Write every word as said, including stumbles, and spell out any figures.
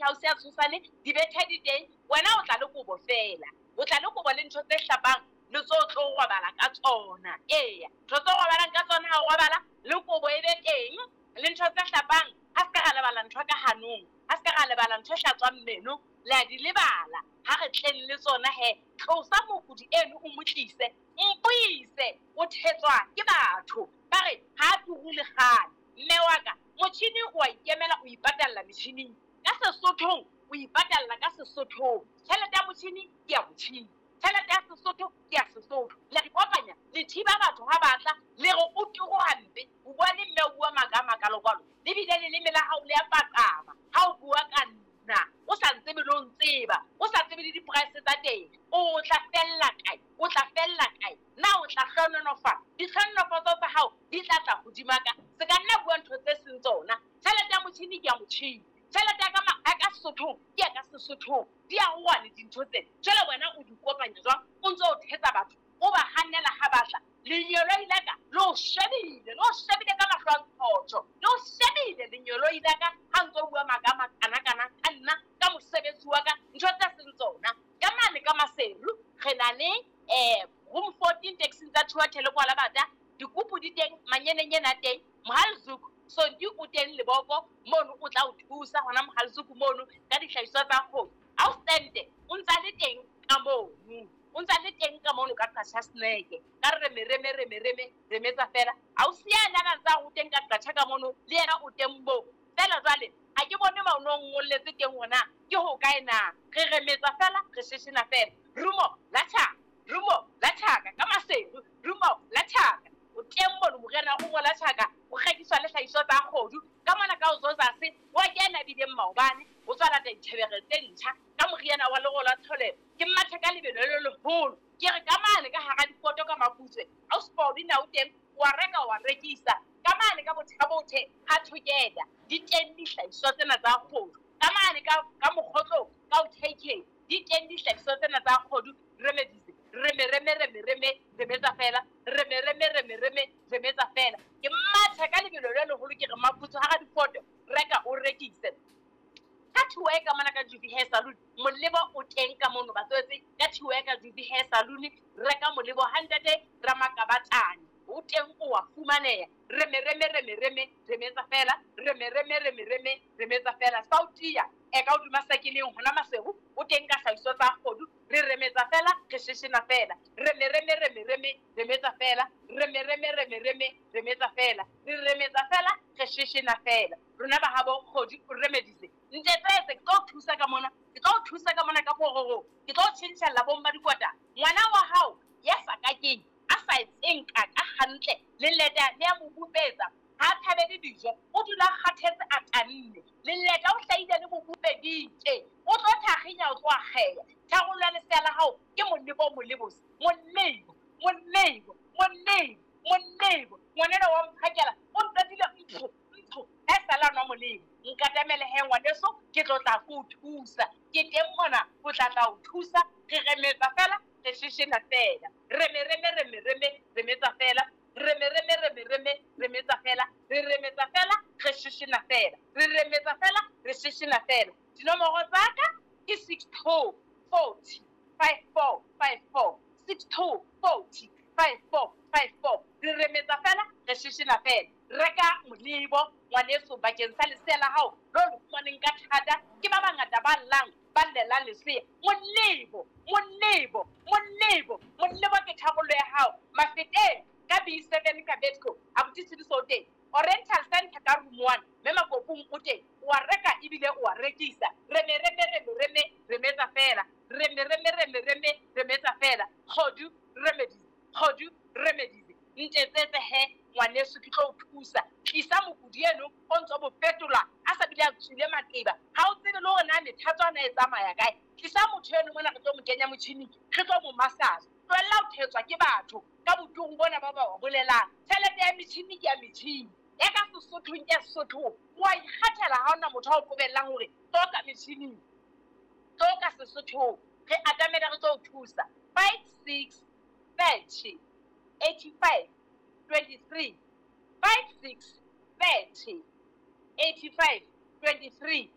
house ya Tshosane, dibethe di teng, wena o tla le kobo fela. O tla le kobo le ntho tse hlapang le tso tlo robala ka tsona. Eya, ntho tse robalang ka tsona ha o robala, le kobo e be teng, le ntho tse hlapang, ha se ka ra lebala ntho ka hanong, ha se ka ra lebala ntho e hlatswang meno, le a di lebala. Ha re tleng le tsona he, tlosa mokudi eno o mo tlise, mpuise, o thetswa ke batho. Ba re ha turu le kgale. Mme wa ka, motjhini o a ikemela, o ipatalla metjhining. Ka Sesothong, o ipatalla ka Sesothong. Tjhelete ya motjhini ke ya motjhini. Tjhelete ya Sesotho ke ya Sesotho. Le re kopanya, le thiba batho ha batla, le re o turu hampe. O bua le mme o bua maka a makalo-kalo. Le bile leleme la hao le a paqama ha o bua ka nna. O sa ntsebe le ho ntseba, o sa tsebe le di-price tsa teng. O tla fella kae? O tla fella kae? Na o tla hlohonolofala? Ditlhohonolofatso tsa hao di tla tla hodima ka. Se ka nna bua ntho tse seng tsona. Tjhelete ya motjhini ke ya motjhini. Tjhelete ya ka ma-, ya ka Sesothong ke ya ka Sesothong. Di a uwane dintho tsena. Jwale wena o di kopanya jwang? O ntso o thetsa batho, o ba hanela ha batla. Lenyeloi la ka le o shebile, le o shebile ka mahlo a ntshotjho. Le o shebile lenyeloi la ka ha ntso o bua maka a makana-kana ka nna, ka mosebetsi wa ka, ntho tse seng tsona. Ka mane ka Maseru re na le, eh, room fourteen taxing tsa Thuathele kwa Labata, dikupu di teng, manyenenyene a teng, Mohalzuku Sonti o teng Leboko mono o tla o thusa hona Mohalzuku mono ka dihlahiswa tsa kgomo. Ha o sente o ntsa le teng ka mono, o ntsa le teng ka mono ka Qacha Snack. Ka re reme, reme, reme, reme, remetsa fela. Ha o siya na ntsa o teng ka Qacha ka mono, le yena o teng moo. Fela jwale ha ke bone ma o no ngolletse teng hona ke ho kae na. Re remetsa fela, re sheshena fela. Rumo la tjhaka, rumo la tjhaka ka Maseru, rumo la tjhaka. O teng mono morena rumo la tjhaka, o rekiswa le hlahiswa tsa kgodu. Ka mona ka o Zozase, wa kena bileng maobane, o tswa lata ditjhebere tse ntjha ka moriana wa lero la tholelo. Ke mathe ka lebelo le leholo. Ke re ka mane ka hara difoto ka Maputswe, ha o sport na o teng, wa reka wa rekisa. Ka mane ka Bothabothe ha Thokela, di teng dihlahiswa tsena tsa kgodu. Ka mane ka, ka Mokgotlong, ka o K K, di teng dihlahiswa tsena tsa kgodu. Remedies, reme, reme, reme, reme, remetsa fela, reme, reme, reme, reme, remetsa fela. Ke matha ka lebelo le leholo, ke re Maputswe hara difoto, reka o rekise. Ka Thuwe ka mona ka Juvi Hair Salon, molebo o teng ka mono batswetse. Ka Thuwe ka Juvi Hair Salon, reka molebo ha ntate Ramakabatane, o teng o wa fumaneha. Reme, reme, reme, reme, remetsa fela, reme, reme, reme, reme, remetsa fela. Sautia e ka hodima sakeleng hona Maseru, o teng ka hlahiso tsa kgodu. Re remetsa fela, re sheshena fela. Reme, reme, reme, reme, remetsa fela. Reme, reme, reme, reme, remetsa fela. Re remetsa fela, re sheshena fela. Rona ba habo kgodu o remedise. Ntetsetse, ke tlo o thusa ka mona, ke tlo o thusa ka mona ka pororo, ke tlo o tjhentjhella bomma dikwata. Ngwana wa hao ya sa kakeng, a sa etseng kaka hantle, leleta le a mo bupetsa, ha a thabele dijo, o dula a kgathetse a tanne. Leleta o hlahile le mo bupeditse, o tlo thakginya, o tlo akgeha. Tharollo ya lesea la hao ke molebo o molebose, molebo, molebo, molebo, molebo. Ngwanenwa wa mphakela, o ntatile ntho, ntho, ha e sala nwa molemo. Nkatamele he ngwaneso, ke tlo tla ko o thusa. Ke teng mona ho tla tla o thusa. Re remetsa fela, re sheshena fela. Reme, reme, reme, reme, remetsa fela. Reme, reme, reme, reme, remetsa fela. Re remetsa fela, re sheshena fela. Re remetsa fela, re sheshena fela. Dinomoro tsa ka ke six two forty five four five four, six two forty five four five four. Re remetsa fela, re sheshena fela. Reka molebo ngwaneso bakeng sa lesea la hao lo le fumaneng ka thata. Ke ba bangata ba llang, ba llelang lesea. Molebo, molebo, molebo, molebo ke tharollo ya hao. Mafeteng ka B seven ka Betco, abuti Tshidiso o teng. Oriental Center ka room one, mme Makopong o teng. O a reka ebile o a rekisa. Reme, reme, reme, reme, remetsa fela. Reme, reme, reme, reme, remetsa fela. Kgodu remedies, kgodu remedies. Ntetsetse he ngwaneso, ke tlo o thusa. Tlisa mokudi eno o ntso mo fetola a sa bile a tswile maqeba. Ha o tsebe le hore na methatswana e tsamaya kae. Tlisa motho eno mona, re tlo mo kenya motjhining, re tlo mo massage. Tlohella ho thetswa ke batho ka boturu bona ba ba ba bolelang. Tjhelete ya metjhini ke ya metjhini, ya ka Sesothong ke ya Sesothong. O a ikgethela, ha hona motho a o qobellang hore tlo ka metjhining, tlo ka Sesothong. Re atamela, re tlo o thusa. Five six thirty eighty five twenty three, five six thirty eighty five twenty three.